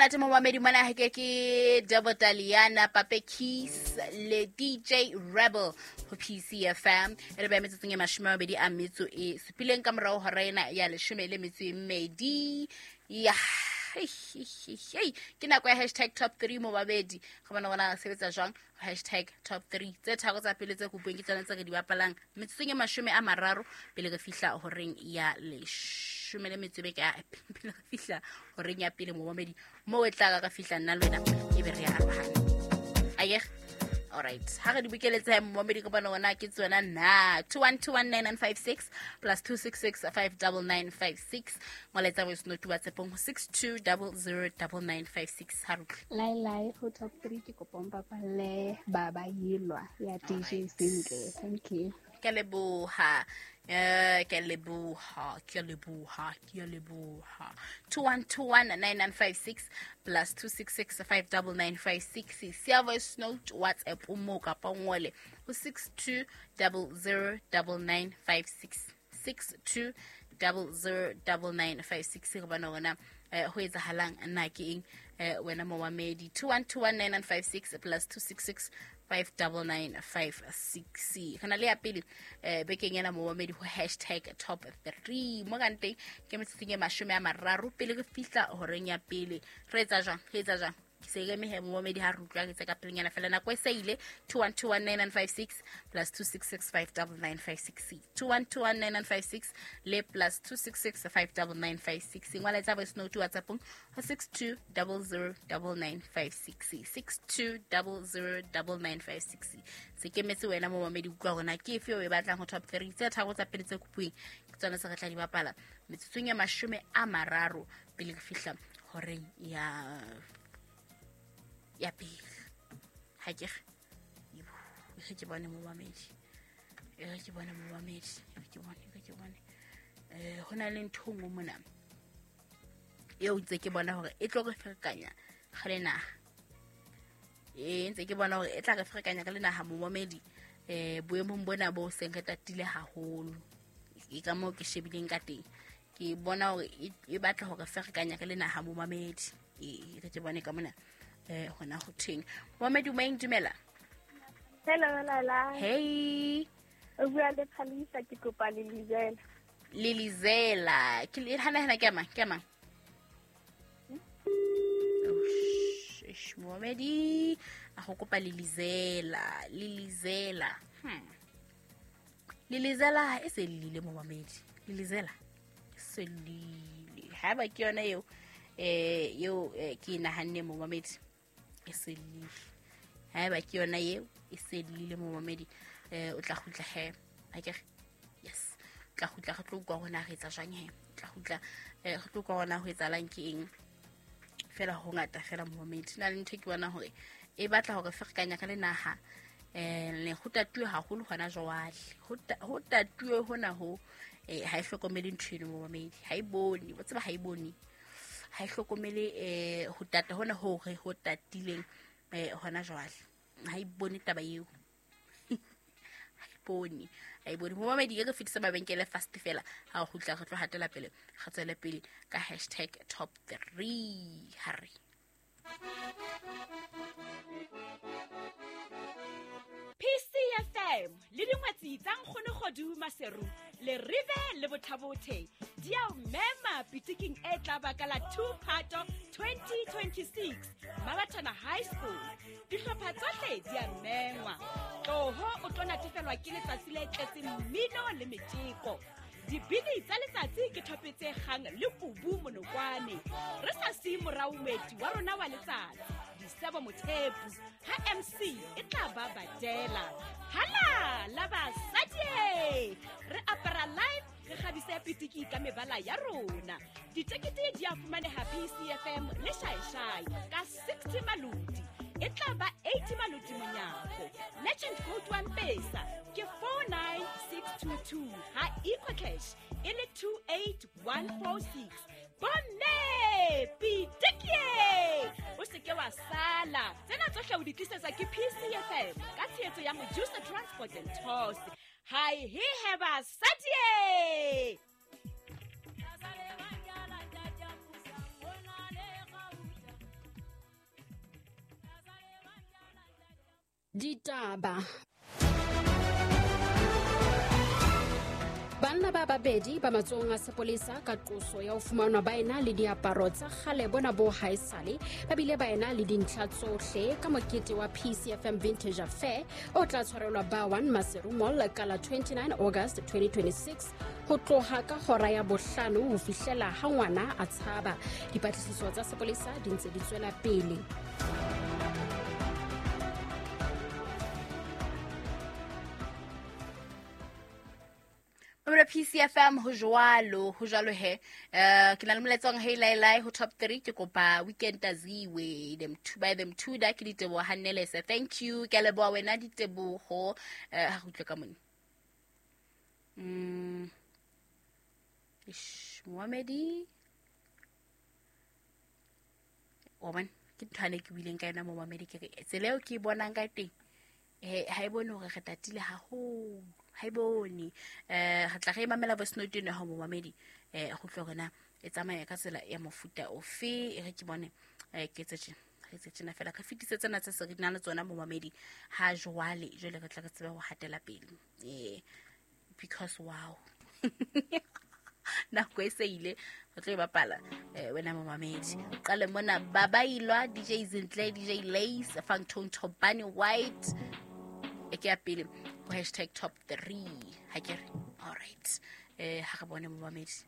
Monate momamedi mona ke ke Debo Taliana, Pape Keys le DJ Rebel ho PCFM. E re ba metsotsong e 27 ka morao hora ena ya 12. Ya ke nako ya hashtag top 3 momamedi. Go bona bona sebetsa jwang hashtag top 3 tse tharo tsa pele tse kopuweng ke tsona tse re di bapalang metsotsong e 30 pele re fihla horeng ya 12 ka pele re fihla horeng ya pele momamedi mo e tla ka fihla nna le wena e be re ya arohana. Aye, all right, ha re di bokeletse momamedi ka bona ona ke tsona na 21219956 plus 266599956 molaetsa voice note WhatsApp-ong ho 62009956. Ha re utlwe. Lai lai ho top 3 ke kopa o mpapalle Baba Yelwa ya DJ Zinhle. Thank you. Ke a leboha. Ke a leboha, ke a leboha, ke a leboha. 21219956 plus 266599956. Siya voice note WhatsApp o mo kapa o ngole ho 62009956. 62009956 re bona hore na ho etsahalang na ke eng wena momamedi. 21219956 plus 266599956. Re na le ya pele bekeng ena momamedi ho hashtag top 3 mo kanteng ke metsotsong e 30 pele re fihla horeng ya pele. Re etsa jwang? Re etsa jwang? Ke se eme he momamedi ha re utlwa re tse ka pelenyana fela nako e se ile. 21219956 plus 266599956. 21219956 le plus 266599956. Ngwala tsa voice note WhatsApp-ong ho 62009956. 62009956. Se kemetse wena momamedi utlwa hore na ke efe eo e batlang ho top 3 tse tharo tsa pele tse kopuweng ke tsona tse re tla di bapala metsotsong e 30 pele re fihla horeng ya pele. Ha ke re e ke bone momamedi, e ke bone momamedi, e ke bone, e ke bone. Ho na le ntho nngwe mona eo ntse ke bona hore e tlo re ferekanya ga le naha. Ntse ke bona hore e tla re ferekanya ka le naha momamedi. Boemong bona bo seng re tatile haholo. E ka moo ke shebileng ka teng. Ke bona hore e batla hore ferekanya ka le naha momamedi. Re ke bone ka mona. Hona ho theng. Momamedi o maeng dumela. Hello Lala. Hey. O bua le Phalisa, ke kopa Lilizela. Lilizela. Ke le hana hana ke mang? Ke mang? Momamedi a go kopa Lilizela. Lilizela. Lilizela e se lile momamedi. Lilizela e se lile. Ha ba ke yona eo eo ke nahanne momamedi e se lile. Ha ba ke yona eo e se lile momamedi. O tla kgutla he. Ha ke re yes. Tla kgutla re tlo utlwa hore na re etsa jwang he. Tla kgutla re tlo utlwa hore na ho etsahalang ke eng. Fela ho ngata fela momamedi. Na le ntho ke bona hore e batla hore ferekanya ka le naha. Le ho tatuwe haholo hona jwale. Ho tatuwe hona ho ha e hlokomele ntho eno momamedi. Ha e bone, o tseba ha e bone. Ha e hlokomele ho tata hona hore ho tatileng hona jwale. Ha e bone taba eo. Ha e bone. Ha e bone. Momamedi ke re fetisa mabenkele fast fela. Ha o kgutla re tlo hatela pele. Re tswele pele ka hashtag top 3. Ha re. PCFM le dingwetsi tsa Nkgono Kgodu Maseru le Rive le Bothabothe di a o mema pitiking e tla ba ka la 2 Phato 2026 Mabathana High School. Dihlopha tsohle di a mengwa. Tloho o tlo natefelwa ke letsatsi le tletseng mmino le metjeko. Dibini tsa letsatsi ke thope tse kgang le kubu monokwane. Re sa siye morao moeti wa rona wa letsatsi, Disebo Mothepu, ha MC e tla ba badela. Hala la basadi! Re apara live, re kgabise pitiki ka mebala ya rona. Ditekete di a fumaneha PCFM le Shaeshai ka 60 maloti. E tla ba 80 maloti monyako. Legend code wa Mpesa ke 49622 ha EcoCash e le 28146. Bomme pitikie! O se ke wa sala. Tsena tsohle o di tlisetswa ke PCFM ka tshehetso ya Mojusa Transport and Tours. Hai he he basadi! Ditaba. Banna ba babedi ba matsohong a sepolesa ka qoso ya ho fumanwa ba ena le diaparo tsa kgale bona bo haesale, ba bile ba ena le dintlha tsohle ka mokete wa PCFM Vintage Affair o tla tshwarelwa ba 1 Maseru Mall ka la 29 August 2026 ho tloha ka hora ya bohlano ho fihlela ha ngwana a tshaba. Dipatlisiso tsa sepolesa di ntse di tswela pele. Mamela PCFM ho jwalo, ho jwalo he. Ke na le molaetsa wa hey lai lai ho top 3 ke kopa weekend aziwe them two by them two da ke diteboho hannelese. Thank you. Ke a leboha wena diteboho. Ha re utlwe ka mone. Ish, momamedi. Wa bona ke ntho ane ke buileng ka yona momamedi ke re tsela eo ke e bonang ka teng ha e bone hore re tatile haholo, ha e bone. Re tla re mamela voice note eno ya hao momamedi, go utlwe hore na e tsamaya ka tsela ya mofuta ofe. E re ke bone, ke etse tjena, re etse tjena fela, re fetise tsena tse se re nang le tsona momamedi ha jwale, jwale re tla re tsebe ho hatela pele. Because wow. Nako e se ile, re tlo e bapala, wena momamedi. Qale mona Babailwa, DJ Zintle, DJ Lace, Fangtone Tobani White. E ke ya pele ho hashtag top 3. Ha ke re, all right. Ha re bone momamedi.